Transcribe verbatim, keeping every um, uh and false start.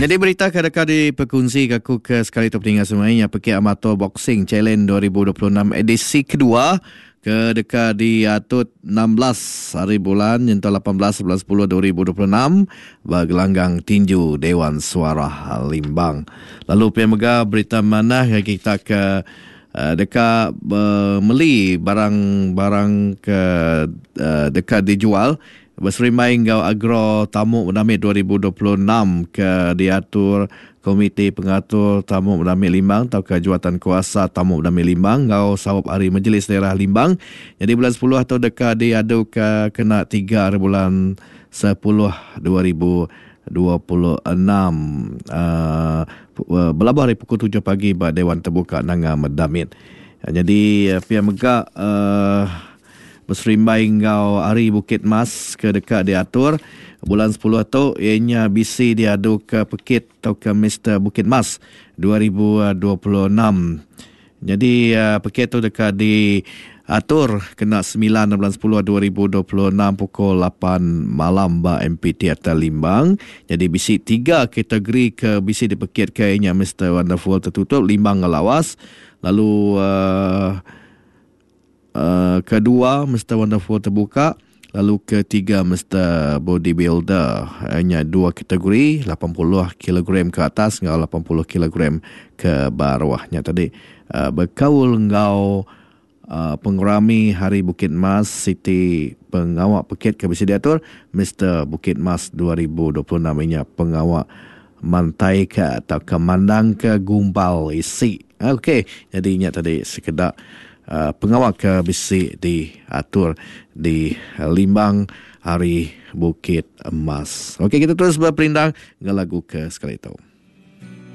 Jadi berita ke deka diperkongsi ke aku ke sekali tu peninga semuanya Pekit Amateur Boxing Challenge dua ribu dua puluh enam edisi kedua ke deka diatur enam belas hari bulan nyentuh lapan belas bulan sepuluh dua ribu dua puluh enam ba gelanggang tinju Dewan Suara Limbang. Lalu pia mega berita manah bagi kita ke uh, deka uh, meli barang-barang ke uh, deka dijual berserimbai enggau Agro Tamu Medamit dua ribu dua puluh enam ke diatur Komiti Pengatur Tamu Medamit Limbang atau ke Juatan Kuasa Tamu Medamit Limbang enggau Sawap Hari Majlis Daerah Limbang. Jadi bulan sepuluh atau deka diadu ke kena tiga hari bulan sepuluh dua ribu dua puluh enam uh, berlabuh hari pukul tujuh pagi ba Dewan Terbuka Nanga Medamit. Jadi pia mega uh, berserimbai enggau Hari Bukit Mas ke dekat diatur bulan sepuluh tu ianya B C diadu ke Pekit atau ke Mister Bukit Mas dua ribu dua puluh enam. Jadi uh, Pekit tu dekat diatur kena sembilan bulan sepuluh dua ribu dua puluh enam pukul lapan malam ba M P Theater Limbang. Jadi B C tiga kategori ke B C di Pekit ke ianya Mister Wonderful tertutup Limbang Ngelawas. Lalu uh, Uh, kedua Mister Wonderful terbuka, lalu ketiga Mister Bodybuilder. Hanya dua kategori, lapan puluh kilogram ke atas dengan lapan puluh kilogram ke bawahnya tadi. Uh, berkaul ngau uh, pengerami Hari Bukit Mas City pengawak pekit ke bisa diatur Mister Bukit Mas dua ribu dua puluh enam inya pengawak mantai ke atau ke mandang ke gumpal isi. Okey, jadi inya tadi sekedar Uh, pengawal ke bisi diatur di Limbang Hari Bukit Emas. Okey, kita terus berperindang dengan lagu ke sekali itu.